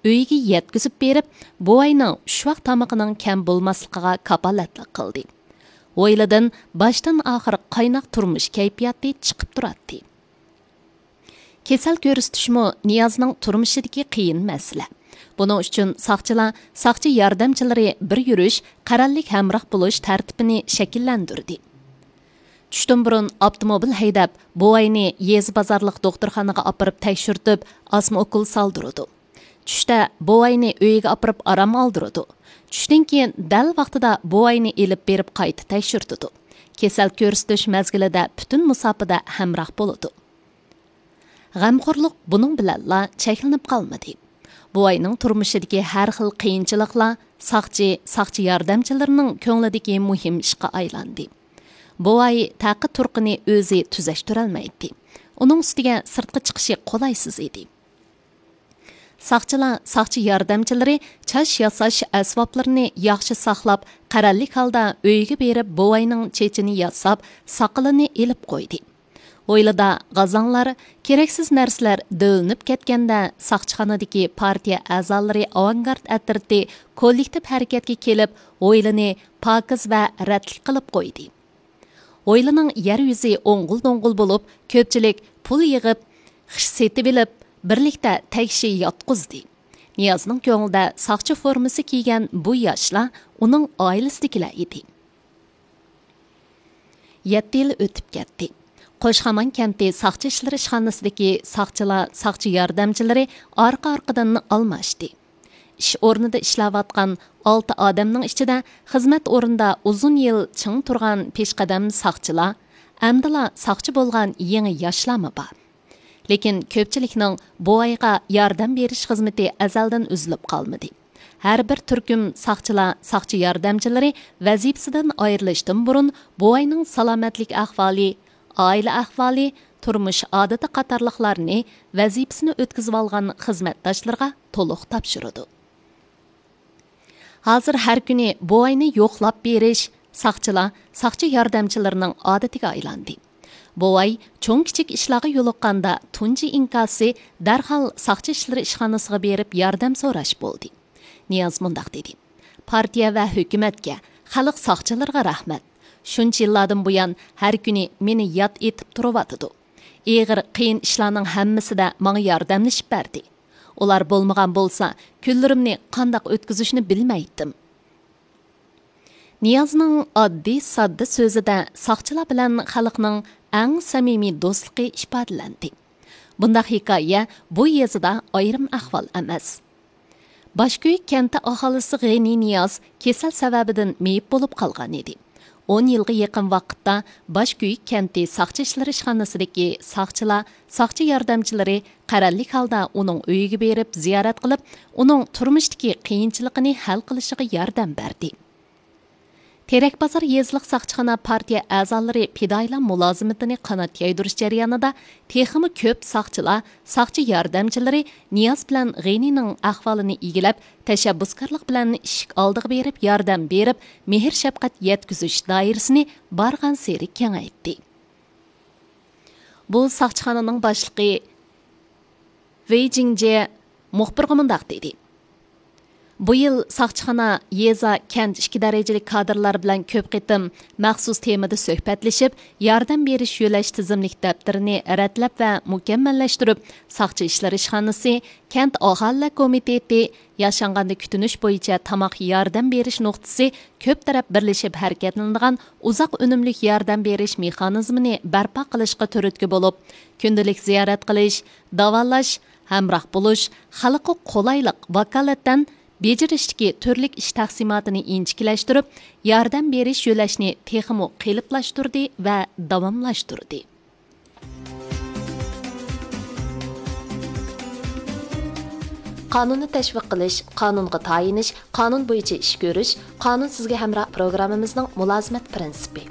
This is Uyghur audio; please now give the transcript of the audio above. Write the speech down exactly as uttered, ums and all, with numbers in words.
ئۆيىگە يەتكۈزۈپ بېرىپ، بوۋاينىڭ ئۈچ ۋاق تامىقىنىڭ كەم بولماسلىقىغا كاپالەتلىك قىلدى. ھويلىدىن باشتىن ئاخىر قايناق تۇرمۇش كەيپىياتى چىقىپ تۇراتتى. كېسەل كۆرسىتىشمۇ نىيازنىڭ تۇرمۇشىدىكى قىيىن مەسىلە. بۇنىڭ ئۈچۈن ساقچىلار، ساقچى ياردەمچىلىرى بىر يۈرۈش، قەرەللىك ھەمراھ بولۇش تەرتىپىنى شەكىللەندۈردى. چۈشتىن بۇرۇن ئاپتوموبىل ھەيدەپ، بوۋاينى يېزا بازارلىق دوختۇرخانىغا ئاپىرىپ تەكشۈرتۈپ، ئاسما ئوكۇل سالدۇرىدۇ. چۈشتە بوۋاينى ئۆيىگە ئاپىرىپ ئارام ئالدۇرىدۇ. چۈشتىن كېيىن دەل ۋاقتىدا بوۋاينى ئېلىپ بېرىپ قايتا تەكشۈرتىدۇ. كېسەل كۆرسىتىش مەزگىلىدە پۈتۈن مۇساپىدە ھەمراھ بولىدۇ. غەمخورلۇق بۇنىڭ بىلەنلا چەكلىنىپ قالمىدى. بوۋاينىڭ تۇرمۇشىدىكى ھەر خىل قىيىنچىلىقلار ساقچى، ساقچى ياردەمچىلىرىنىڭ كۆڭلىدىكى مۇھىم ئىشقا ئايلاندى. بوۋاي تەقى تۇرقىنى ئۆزى تۈزەشتۈرەلمەيتتى. ئۇنىڭ ئۈستىگە سىرتقا چىقىشى قولايسىز ئىدى. ساقچىلار، ساقچى ياردەمچىلىرى چاچ ياساش ئەسۋابلىرىنى ياخشى ساقلاپ، قەرەللىك ھالدا ئۆيىگە بېرىپ، بوۋاينىڭ چېچىنى ياساپ، ساقىلىنى ئېلىپ قويدى. ھويلىدا غازاڭلار، كېرەكسىز نەرسىلەر دۆۋىلىنىپ كەتكەندە، ساقچىخانىدىكى پارتىيە ئەزالىرى ئاۋانگارت ئەترىتى كوللېكتىپ ھەرىكەتكە كېلىپ، ھويلىنى پاكىز ۋە رەتلىك قىلىپ قويدى. ھويلىنىڭ يەر يۈزى ئوڭغۇل-دوڭغۇل بولۇپ، كۆپچىلىك پۇل يىغىپ، خىش سېتىۋېلىپ، بىرلىكتە تەكشى ياتقۇزدى. نىيازنىڭ كۆڭلىدە ساقچى فورمىسى كىيگەن بۇ ياشلار ئۇنىڭ ئائىلىسىدىكىلەر ئىدى. يەتتە يىل ئۆتۈپ كەتتى. قوشخامان كەنتى ساقچى ئىشلىرى ئىشخانىسىدىكى ساقچىلار، ساقچى ياردەمچىلىرى ئارقا-ئارقىدىن ئالماشتى. ئىش ئورنىدا ئىشلەۋاتقان ئالتە ئادەمنىڭ ئىچىدە خىزمەت ئورنىدا ئۇزۇن يىل چىڭ تۇرغان پېشقەدەم ساقچىلار، ئەمدىلا ساقچى بولغان يېڭى ياشلارمۇ بار. لېكىن كۆپچىلىكنىڭ بوۋايغا ياردەم بېرىش خىزمىتى ئەزەلدىن ئۈزۈلۈپ قالمىدى. ھەر بىر تۈركۈم ساقچىلار، ساقچى ياردەمچىلىرى ۋەزىپىسىدىن ئايرىلىشتىن بۇرۇن بوۋاينىڭ سالامەتلىك ئەھۋالى، ئائىلە ئەھۋالى، تۇرمۇش ئادىتى قاتارلىقلارنى ۋەزىپىسىنى ئۆتكۈزۈۋالغان خىزمەتداشلىرىغا تولۇق تاپشۇرىدۇ. ھازىر ھەر كۈنى بوۋاينى يوقلاپ بېرىش ساقچىلار، ساقچى ياردەمچىلىرىنىڭ ئادىتىگە ئايلاندى. بوۋاي چوڭ-كىچىك ئىشلارغا يولۇققاندا، تۇنجى ئىنكاسى دەرھال ساقچى ئىشلىرى ئىشخانىسىغا بېرىپ ياردەم سوراش بولدى. نىياز مۇنداق دېدى: «پارتىيە ۋە ھۆكۈمەتكە، خەلق ساقچىلىرىغا رەھمەت. شۇنچە يىللاردىن بۇيان ھەر كۈنى مېنى ياد ئېتىپ تۇرۇۋاتىدۇ. ئېغىر، قىيىن ئىشلارنىڭ ھەممىسىدە ماڭا ياردەملىشىپ بەردى. ئۇلار بولمىغان بولسا، كۈنلىرىمنى قانداق ئۆتكۈزۈشنى بىلمەيتتىم.» نىيازنىڭ ئاددىي، ساددا سۆزىدە ساقچىلار بىلەن خەلقنىڭ ئەڭ سەمىمىي دوستلۇقى ئىپادىلەندى. بۇنداق ھېكايە بۇ يېزىدا ئايرىم ئەھۋال ئەمەس. باشكۆيۈك كەنتى ئاھالىسى غېنى نىياز كېسەل سەۋەبىدىن مېيىپ بولۇپ قالغان ئىدى. ئون يىلغا يېقىن ۋاقىتتا باشكۆيۈك كەنتى ساقچى ئىشلىرى ئىشخانىسىدىكى ساقچىلار، ساقچى ياردەمچىلىرى قەرەللىك ھالدا ئۇنىڭ ئۆيىگە بېرىپ زىيارەت قىلىپ، ئۇنىڭ تۇرمۇشتىكى قىيىنچىلىقىنى ھەل قىلىشىغا ياردەم بەردى. تېرەكبازار يېزىلىق ساقچىخانا پارتىيە ئەزالىرى پىدائىيلار مۇلازىمىتىنى قانات يايدۇرۇش جەريانىدا تېخىمۇ كۆپ ساقچىلار، ساقچى ياردەمچىلىرى نىياز بىلەن غېنىنىڭ ئەھۋالىنى ئىگىلەپ، تەشەببۇسكارلىق بىلەن ئىشىك ئالدىغا بېرىپ ياردەم بېرىپ، مېھىر-شەپقەت يەتكۈزۈش دائىرىسىنى بارغانسېرى كېڭەيتتى. بۇ ساقچىخانىنىڭ باشلىقى ۋېي جىڭجې مۇخبىرغا مۇنداق دېدى: «بۇ يىل ساقچىخانا يېزا، كەنت ئىككى دەرىجىلىك كادىرلار بىلەن كۆپ قېتىم مەخسۇس تېمىدا سۆھبەتلىشىپ، ياردەم بېرىش يۆلەش تىزىملىك دەپتىرىنى رەتلەپ ۋە مۇكەممەللەشتۈرۈپ، ساقچى ئىشلىرى ئىشخانىسى، كەنت ئاھالىلەر كومىتېتى، ياشانغاندا كۈتۈنۈش بويىچە تاماق ياردەم بېرىش نۇقتىسى كۆپ تەرەپ بىرلىشىپ ھەرىكەتلىنىدىغان ئۇزاق ئۈنۈملۈك ياردەم بېرىش مېخانىزمىنى بەرپا قىلىشقا تۈرتكە بولۇپ، كۈندىلىك زىيارەت قىلىش، داۋالاش، ھەمراھ بولۇش، خەلققە قولايلىق، ۋاكالىتەن بېجىرىشتىكى تۈرلۈك ئىش تەقسىماتىنى ئىنچىكىلەشتۈرۈپ، ياردەم بېرىش يۆلەشنى تېخىمۇ قېلىپلاشتۇردى ۋە داۋاملاشتۇردى.» قانۇننى تەشۋىق قىلىش، قانۇنغا تايىنىش، قانۇن بويىچە ئىش كۆرۈش، قانۇن سىزگە ھەمراھ پروگراممىمىزنىڭ مۇلازىمەت پىرىنسىپى.